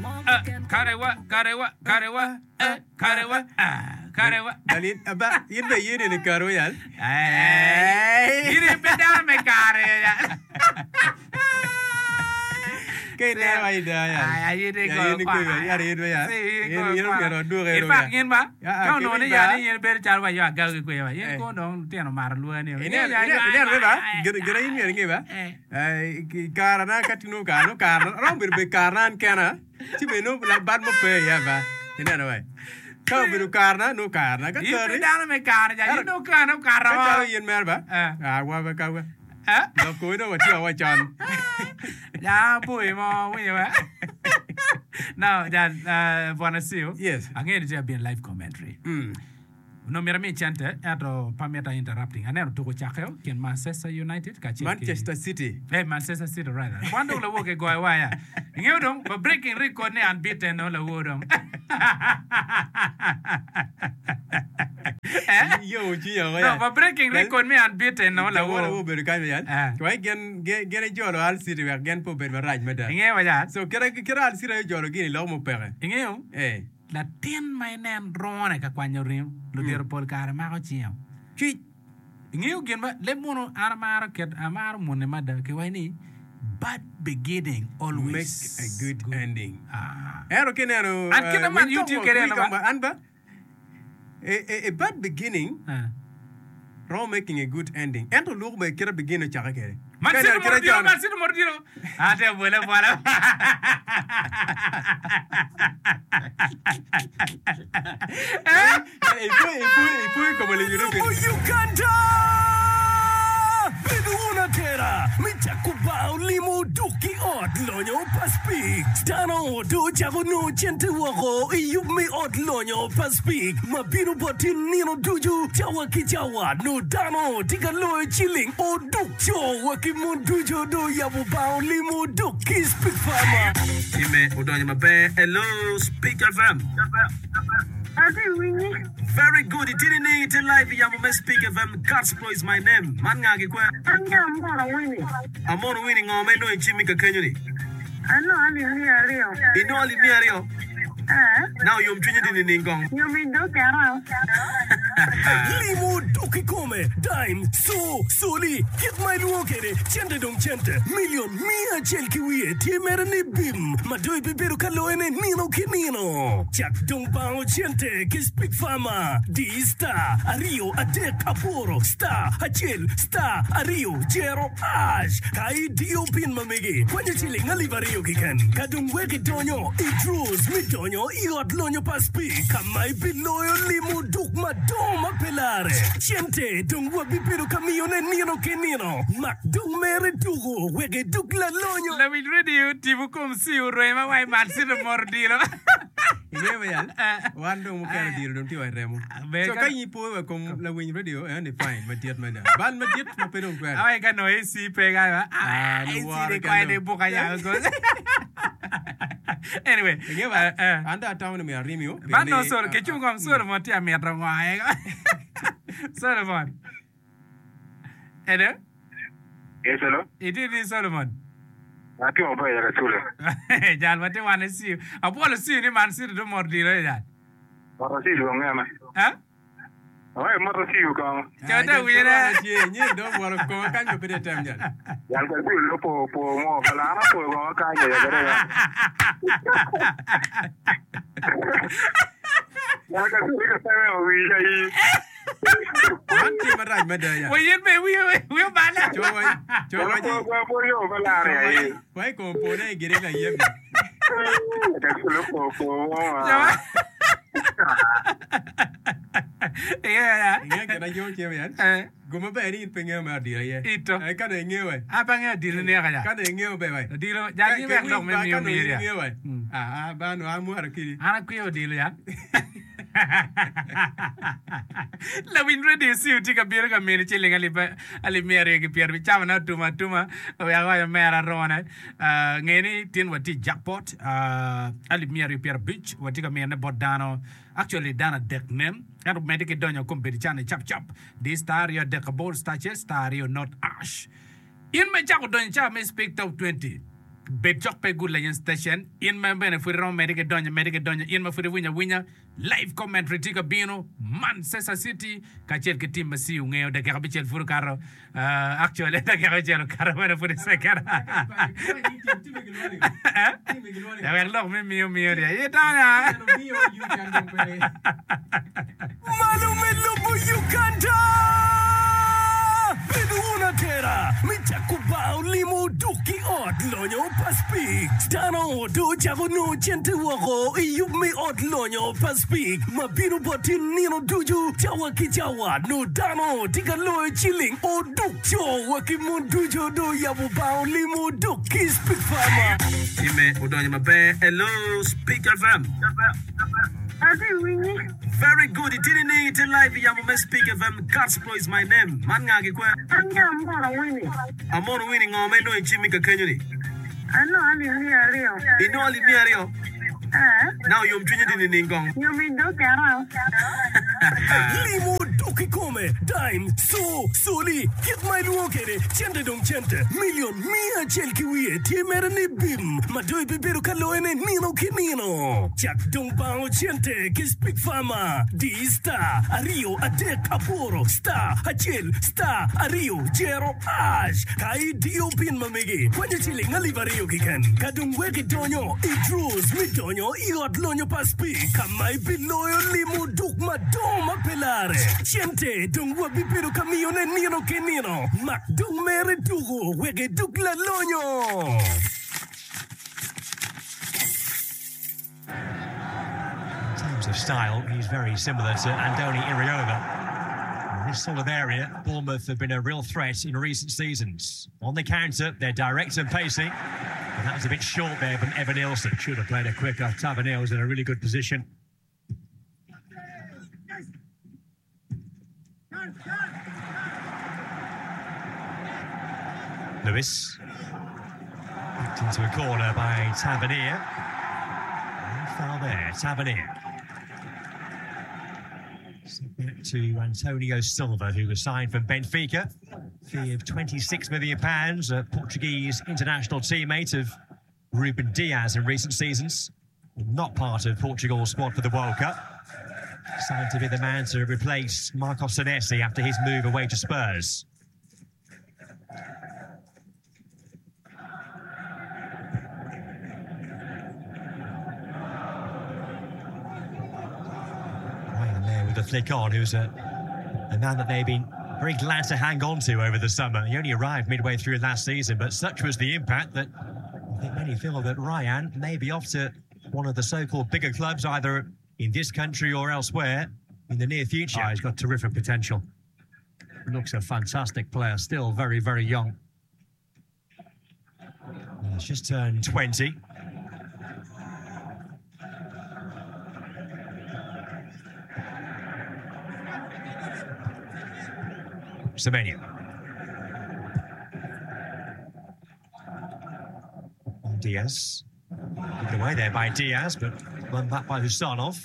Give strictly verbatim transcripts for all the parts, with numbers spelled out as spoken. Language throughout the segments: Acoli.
Ah, Karewa, karewa, karewa, eh, karewa, ah, karewa. Dalin aba in be yene ni karo yal. Eh, in pe dano me kare ya. Ke ne wa ida ya. Ay, ay, in Ya ko- yin ko ya yin ya. Si, Yin ko- yin ko- myero oduke In fact, in ba, Ya, ka onongo ni ki ya ba. ni in bedo calo wa yo agago ki kweyo wa. In Eh. ko dong lutino maro lwani. Ine ine ine ba. Gina gina in myero inge ba. Eh. Eh ki kara na ka tinu ka no kara. Rom bedo be kara an kena. Ci be no la bad mo pe ya ba. Ine no wa. Ka obedo kara na no kara na ka In pe kari. dano me kare ja. In dong kare kare Ka wa. calo yin mer ba. Eh. Ah wa ba ka wa. Eh? Lok ko do wa ti wa chon. Ja, boy mo winyo ba. Now, ja, uh, Bwana Siu. Yes. Ang'eyo ni tye abin live commentary. Mm. No myero mi cente ento pa mita interrupting. Aneno tuko cakeo kin Manchester United kacel ki- Manchester City. Hey, Manchester City rather. Wan dong lawo ke goyo waya. Ingeo dong, ba breaking record ni unbeaten no lawo dong. Eh? Yo ci yo No, ya. ba breaking record ni unbeaten no Lawo lawo lawo. bedo kanyo yan. Eh. Wai gen gen gen jolo Al City wek gen po bedo marach mada. Ingeo wa ja. So kira kira Al City aye jolo gini lok mo peke. Ingeo? Eh. Latin ma inen rone ka kwanyo ringo, ludito pol kare mako cingeo. Cwic. Ingeo gin ma leb munu an amaro ket amaro mune mada ki wai ni bad beginning always Make a good ending. Ah. Ero kineno An kite man we talk YouTube about- kede we no talk ba? about- An ba? A, a, a bad beginning Ah. ro making a good ending. Ento luk be kira begin ochake kede. Man Ka City ineno moro kira diro, chon- Man City moro diro. Ate bwele bwala. Eh? Ipo ipo ipo komo le yuro Lobo Uganda! Bedo wun atera me cako bao limo duk ki ot lonyo pa Speke. Dano do cako nongo cente woko i yub me ot lonyo pa Speke ma bino boti nino ducu cawa ki cawa no dano tye ka loyo ciling oduk co wa ki mon ducu do yabo bao limo duk ki Speke Farmer. Time odonyo maber. Hello, Speak FM. Ati winyi. Very good. Itini ni ite live yamo me Speak FM. Gospel is my name. Man ngagi kwe. An ga amoro winyi. Amono wini ngome no ichimi ka kenyo ni. Ano ali mi ariyo. Ino ali mi ariyo. Eh. Now yom chunyi dini ningong. Yomi do kera. Limo duk kikome, dime, so, soli, kit ma iluongo kede, cente dong cente, milion mia achiel ki wiye tye mere ni bim, ma do ibibedo ka loyone nino ki nino. Cak dong bango cente ki Speak Farmer, di star ariyo adek aboro, star achiel, star ariyo jero hash. Ka idiyo pin ma megi, kwanyo ciling alip ariyo kiken. Ka dong wek idonyo, i draws midonyo i ot lonyo pa Speak, kama ibiloyo limo duk madongo ma pe lare. Cente dong wabibedo ka miyone nino ki nino. Mak dong mere tuko wek iduk lalonyo. Lawiny radio tipo kom si urwema wai Man City moro diro. Ingeyo ba yal? Eh. Wan dong mukene diro dong tye wa i remo. Ber So ka- ka in ipo wa kom lawiny radio eh ni fine madit mada. Bal madit ma pe dong twero. Awai ka no AC pe ga ba. Ah, Ah, no AC waro de kwai kendo. de buka ya go. Anyway, Ingeyo ba? eh, eh. An dong atamo ni myero arimio. Man no pien ni- solo ke chung kom Solomon tye amito ngo aye. Solomon. Hello? Yes, hello. Itye ni Solomon. Ati maber ya kasule. Jal wate wan siu. Apolo siu ni Man City do mor diro e jal. Moro si luong ng'ama. Ha? Awaye moro si kong. Ah, Chota jal wira. choro tye nyi dong waro kom kanyo pe de tem jal. Jal kasule lo po po mo kala ana po ko kanyo ya kare. Jal kasule ka sawe o wi ja yi. Man tye marac mada ya. Wa yen be wi wi bala. Co wa co wa Po po po yo kala re ya yi. Wai kom po ne gire la yeb. Kasule po po mo. Jawa. Yeah. Ingeyo gin ayo tye yan. Eh. Guma ber ni in pe ingeyo me odiro aye. Ito. Eh, ka dong ingeyo we. Apa nge dilo ne ka ja. Ka dong ingeyo be we. Dilo ja ni wek dok me miyo Ka dong miria. ingeyo we. Mm. Ah, ah, ba no amwaro kidi. An akwiyo dilo ya. Lawiny radio siu tye ka bino ka mini ciling alip alip miya aryo ki pyera abic cama na otuma atuma wek awaco mera arone. Uh, nge ni tin watye i jackpot uh, alip miya aryo pyera abic watye ka miyone bot dano actually dano adek nen ento medde ki donyo kom bedo can cap cap di star aryo adek aboro star acel star aryo not ash. In me cako donyo ca me speak top twenty. Bed cok pe Good Legend Station. In ma bene pud iromo medde ki donyo, medde ki donyo. In ma pud iwinyo awinya, live commentary tye ka bino. Manchester City kacel ki team ma C U ngeyo dakika abicel pud okato. Uh, actually dakika abicel okato bene pud i second. Wek lok me miyo miyo ni aye tanya. Malo me lobo Uganda! Bedo wun atera me cako bar olimo duk ki ot lonyo pa Speke. Dano do ocako nongo cente woko i yub me ot lonyo pa Speke ma bino bot in nino ducu cawa ki cawa. Nongo dano tye ka loyo ciling oduk co wa ki mon ducu do oyabo bar olimo duk ki Speke Farmer. Time odonyo maber. Hello, Speak F M. Atye winyi. Very good. Itye nining? Itye live i yamo me Speak F M. Gospel is my name. Man nga ki kwe? An ki Amono Winnie. Amono Winnie, ngo ma inongo i cimmi ka kenyo ni? Anongo alip miya aryo. Inongo alip miya aryo? Eh. Na oyom cwinyi di nining kong? Yom i dog kera. Limo dok i kome, dime, so, soli, kit ma ilwongo kwede, cente dong cente, milion miya acel ki wiye tye mere ni bim ma dong ibibedo ka loyone nino ki nino. Cak dong bango cente ki Speak Farmer. Di star aryo adek aboro star acel star aryo jero hash ka idiyo pin ma megi kwanyo ciling alip aryo keken. Ka dong wek idonyo i draws me donyo i ot lonyo pa Speak ka ma ibiloyo limo duk madongo ma pe lare. Cente dong wabibedo ka miyone nino ki nino. Mak dong mere tuko wek iduk lalonyo. In terms of style, he's very similar to Andoni Iraola. In this sort of area, Bournemouth have been a real threat in recent seasons. On the counter, they're direct and pacey. But that was a bit short there from Evanilson. Should have played it quicker. Tavernier was in a really good position. Lewis. Backed into a corner by Tavernier. No foul there, Tavernier. So back to Antonio Silva, who was signed from Benfica. Fee of twenty-six million pounds, a Portuguese international teammate of Ruben Dias in recent seasons. Not part of Portugal's squad for the World Cup. Signed to be the man to replace Marcos Senesi after his move away to Spurs. Ryan there with the flick on, who's a, a man that they've been very glad to hang on to over the summer. He only arrived midway through last season, but such was the impact that I think many feel that Ryan may be off to one of the so-called bigger clubs, either in this country or elsewhere in the near future. Oh, he's got terrific potential. Looks a fantastic player, still very, very young. He's just turned twenty. Semenyo. Diaz. Given away there by Diaz, but run back by Husanov.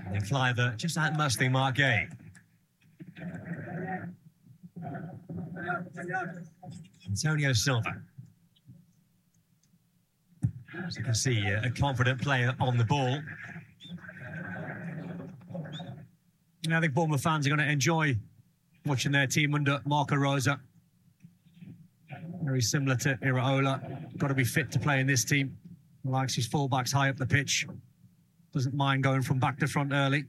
And then Kluivert just outmuscling Marc Guéhi. Antonio Silva. As you can see, a confident player on the ball. And I think Bournemouth fans are gonna enjoy watching their team under Marco Rose. Very similar to Iraola. Gotta be fit to play in this team. Likes his fullbacks high up the pitch. Doesn't mind going from back to front early.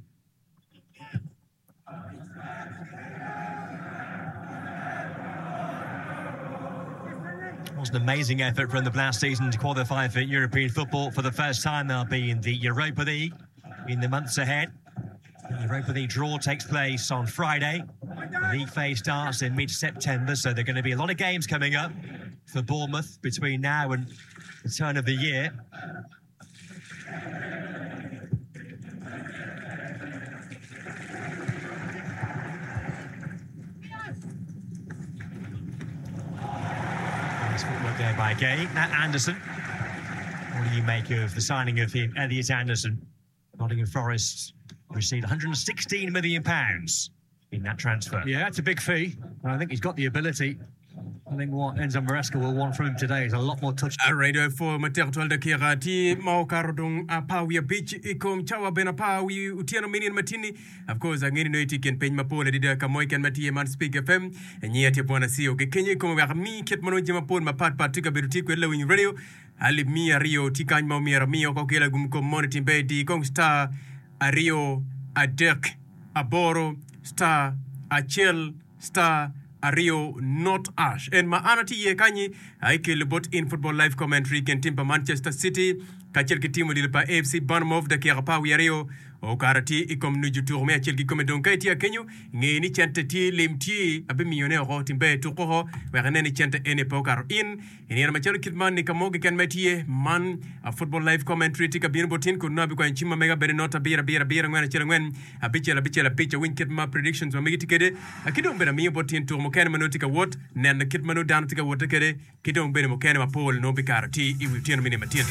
It was an amazing effort from the last season to qualify for European football. For the first time, they'll be in the Europa League in the months ahead. The Europa League draw takes place on Friday. The league phase starts in mid-September, so there are gonna be a lot of games coming up for Bournemouth between now and the turn of the year. Nice footwork there by Guéhi. Matt Anderson. What do you make of the signing of him, Elliot Anderson? Nottingham Forest received a hundred and sixteen million pounds in that transfer. Yeah, that's a big fee. And I think he's got the ability. I think what Enzo Maresca will want from him today is a lot more touch. Alright, four matek twal dakika tye ma okato dong apar wiye abic i kom cawa bene apar wi otyeno minion matini. Of course, ang'e ni nongo itye i kin piny mapol adada ka mo keken ma tye man Speak F M. Nyiya tye Bwana C O ki kenyo i kome wek ami kit ma nongo jami mapol mapat pat tye ka bedo tye kwede lawiny radio. Alip miya aryo tye kany ma omyero ami oko ki lagum kom moni timbe di kong star aryo adek aboro star acel star aryo not ash en ma an atye iye kanyi aikelo bot in football live commentary kin tim pa Manchester City kacel ki tim odilo pa A F C Bournemouth. Dakika apar wiye aryo okato tye i kom nucu tuko me acel kikome. Dong ka itye akenyo, nge ni cente tye, lim tye, abimiyone oko. Timbe tuko oko wek inen ni cente eni pe okato in i nino macalo kit man ni ka mo keken ma itye. Man a football live commentary tye ka bino bot in kun nongo abikwanyo cim ma mega bedo not abiro abiro abiro angwen acel angwen abicel abicel abic. Awiny kit ma predictions ma megi tye kwede, ki dong bene amiyo bot in tuko mukene ma nongo tye ka wot, neno kit ma nongo dano tye ka wotte kwede, ki dong bene mukene mapol nongo bikato tye i wi otyeno mini matin.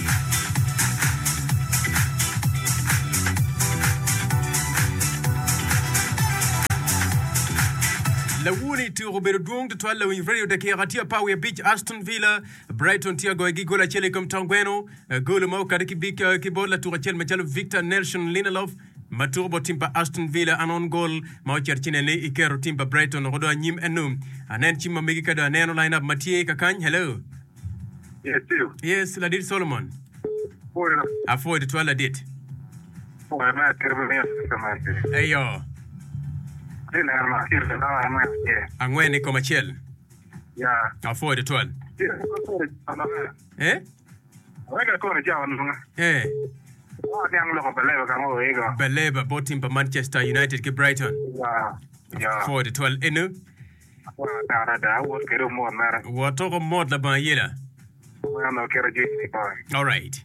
Lawoni tuko obedo dwong tutwal lawiny radio. Dakika tye apar wiye abic. Aston Villa Brighton tye agoyo gi gol acel i kom tongweno, golo ma okati ki bik ki bot latuko acel macalo Victor Nelson Lindelof ma tuko bot tim pa Aston Villa. An on gol ma ocito ci nene iketo tim pa Brighton oko do anyim enu. Anen cim ma megi ka do aneno line up ma tye kakany. Hello. Yes, Steve. Yes, ladit Solomon. Pwoyo. Apwoyo tutwal, ladit. Pwoyo me atir me miyo customers. Eyo. Atye neno ma acel ka nongo angwen acel. Angwen i kom acel. Ya. Apwoyo tutwal. Eh? Weka koni cawa nongo. Eh. Niang loko Baleba ka mo ego. Baleba bot tim pa Manchester United ki Brighton. Ya. Ya. Apwoyo tutwal enu. Apwoyo matek adada. Awot kede omot mere. Watoko mot labongo ayela. Mano kero jwini boy. All right.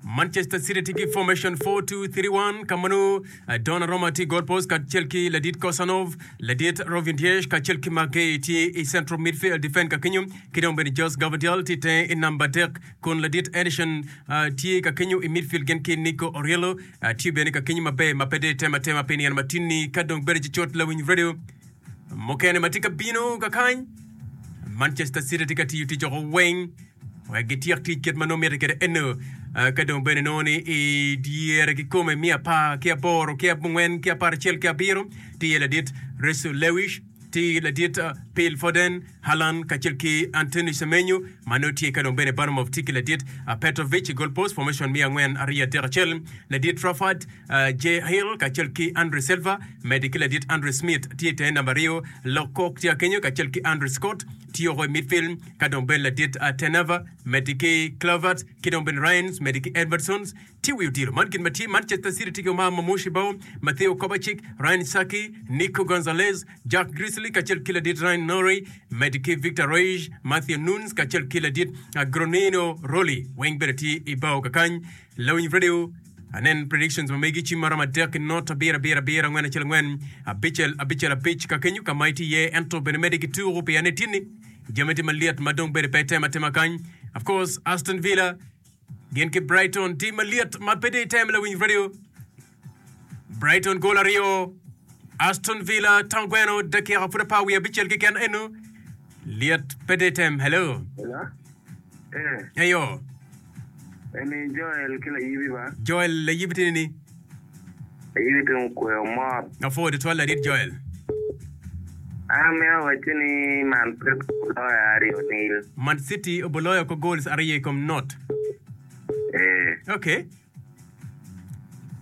Manchester City tye ki formation four two three one ka ma nongo uh, Donnarumma tye goal post kacel ki ladit Kosanov, ladit Ruben Dias kacel ki Maguire tye i central midfield defend ka kenyo, ki dong bene Josh Gvardiol tye tenge i namba adek kun ladit Ederson uh, tye ka kenyo i midfield gin ki Nico O'Reilly uh, tye bene ka kenyo maber ma pe dong itemo atema pi nino matin-ni. Ka dong bedo cucut lawiny radio mukene ma tye ka bino kakany, Manchester City tye ka tiyo tic oko weng wek gityek tic kit ma nongo mitte kwede eno. Uh, ka dong bene nongo ni i dyere kikome miya apar ki aboro ki abongwen ki apar acel ki abiro tye ladit Reece Lewis, tye ladit uh, Phil Foden, Haaland kacel ki Anthony Semenyo ma nongo tye. Ka dong bene Bournemouth tye ki ladit uh, Petrovic i goal post, formation miya angwen aryo adek acel, ladit Trafford, uh, Jay Hill kacel ki Andre Silva medi ki ladit Andre Smith tye tenge namba aryo. Lokok tye akenyo kacel ki Andre Scott tye oko i midfield. Ka dong bene ladit uh, Tenava medi ki Kluivert ki dong bene Ryans medi ki Edwardsons tye wi odilo. Man gin ma tye Manchester City tye ki Omar Marmoush i bao, Mateo Kovacic, Ryan Cherki, Nico Gonzalez, Jack Grealish kacel ki ladit Ryan Nouri medi ki Victor Roig, Matthew Nunes kacel ki ladit uh, Geronimo Rulli weng bene tye i bao kakany. Lawiny radio, anen predictions ma megi cim maromo adek not abiro abiro abiro angwen acel angwen abicel abicel abic ka kenyo ka ma itye iye, ento bene medde ki tuko pi ane tinni jami tye malyet ma dong bene pe itemo atema kany. Of course, Aston Villa gin ki Brighton tye malyet ma pe dong item. Lawiny radio, Brighton gol aryo, Aston Villa tongweno, dakika pud apar wiye abicel keken eno lyet pe dong item. Hello. Hello. Eh, eyo. Eni Joel ki layibi ba. Joel layibi tye ni? Layibi tye okweyo mot. Apwoyo tutwal, ladit Joel. An amito wacci ni Man City oloyo aryo nil. Man City oboloyo ko goals aryo i kom not. Eh, okay.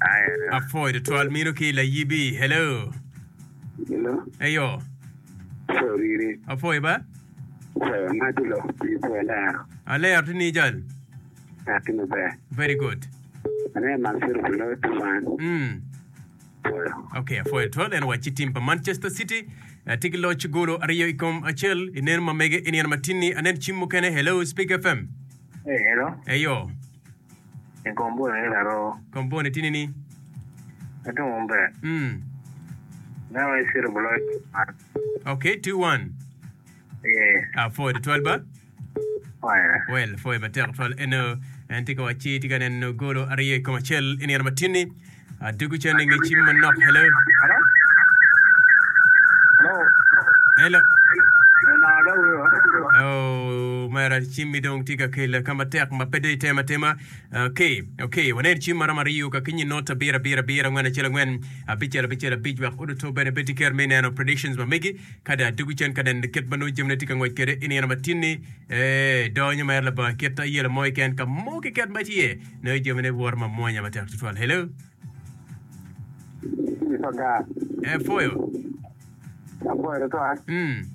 Aya. Apwoyo tutwal mino ki layibi. Hello. Hello. Eyo. Sorry. Apwoyo ba. Pwoyo madulo. Pwoyo lero. Alero tye ni jal. Ati maber. Very good. Ane Man City oloyo two one. mm. Pwoyo. Ok, apwoyo tutwal. En wacci tim pa Manchester City eh, tye ki loc golo aryo i kom acel i neno ma mege i nino matin-ni. Anen cim mukene. Hello, Speak F M. Eh, hello. Eyo. E kombo ni laro. Komboni tye ni? Ati maber. mm. Now City oloyo two one. Ok, two one. Eh, apwoyo tutwal ba. Pwoyo. Well, pwoyo matek tutwal eno. En tye ka wacci tye ka neno golo aryo i kom acel i nino matin-ni. Adugu cen i nge cim manok. Hello. Hello. Hello. Hello. Na da wewe. Oh, mera cimmi dong tye ka kelo ka matek ma pe dong itemo atema. Okay, okay, wanen cim maromo aryo ka kinyi not abiro abiro abiro angwen acel angwen abicel abicel abic wek oduto bene bed ki ker me neno predictions ma megi ka dong adwogo cen ka neno kit ma nongo jamine tye ka ngwec kwede i nino ma tin-ni. Eh, donyo mere labongo kit ayelo mo keken ka mo keken ma tye nongo jamine woto mamwonya matek tutwal. Hello. Eh, pwoyo. Apwoyo tutwal. Mm.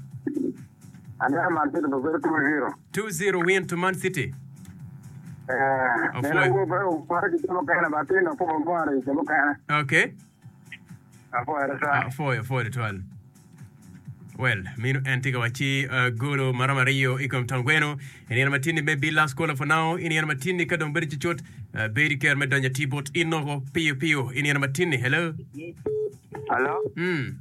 Aneno Man City obedo two zero. Two zero win to Man City. Eh, Apwoyo. neno wo pe opore ki jo mukene ba tin opoko opore ki jo mukene. Okay. Apwoyo tutwal. Apwoyo, apwoyo tutwal. Well, mino en tye ka wacci uh, golo maromo aryo i kom tong gweno. I nino matin-ni may be last caller for now. I nino matin-ni ka dong bedo cucut, uh, bed i ker me donyo atir bot in noko piyo piyo i nino matin-ni. Hello. Hello? Mm.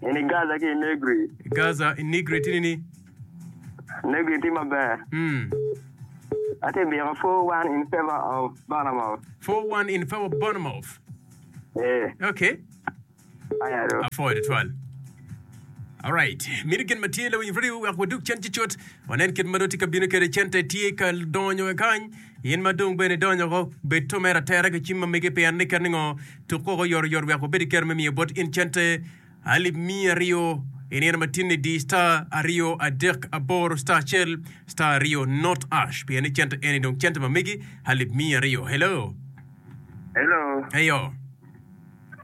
Ini Gaza ki Negri. Gaza i Nigri tini ni. Negri tye maber. Mm. Ate biko four one in favor of Bournemouth. Four one in favor of Bournemouth. Eh, Okay. aya do. Apwoyo tutwal. Alright, mito gin ma tye lawiny radio wek wadug cen cucut. Wanen kit ma dong tye ka bino kwede cente tye ka donyo kany. In ma dong bene idonyo ko bed to mere atera ki cim ma mege pien ni ket ni ngo tuk koko oyotoyot wek wabed ki kero me miyo bot in cente alip miya aryo i nino ma tin-ni di star aryo adek aboro star acel star aryo not ash pien ni cente eni dong cente ma megi alip miya aryo. Hello. Hello. Eyo.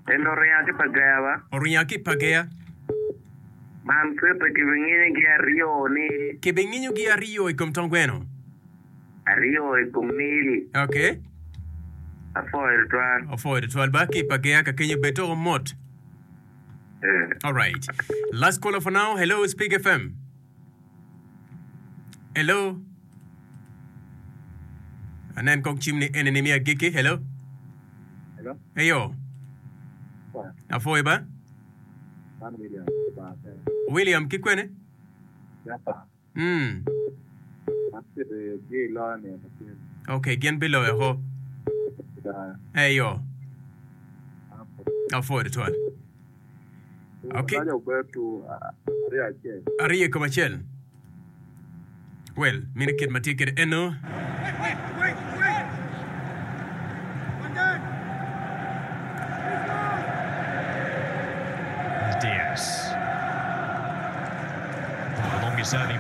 Hello, ringa ki Pagea ba? Oringa ki Pagea. Man City kibinginyogi aryo ni Kibinginyogi aryo i kom tong gweno. aryo i kom nil. Okay. Apwoyo tutwal. Opwoyo tutwal ba ki Pagea ka kenyo bed toko mot. Eh. All right. Last caller for now. Hello, Speak F M. Hello. Anen kong cim ni eni ni miya giki. Hello. Hello. Eyo. Apwoyo ba? Man William. William ki kwene? Mm. Okay, gin biloyo ho. Eyo. Apwoyo tutwal. Okay. Aryo i kom acel. Well, mino kit ma tye kwede eno. Diaz. One of the longest serving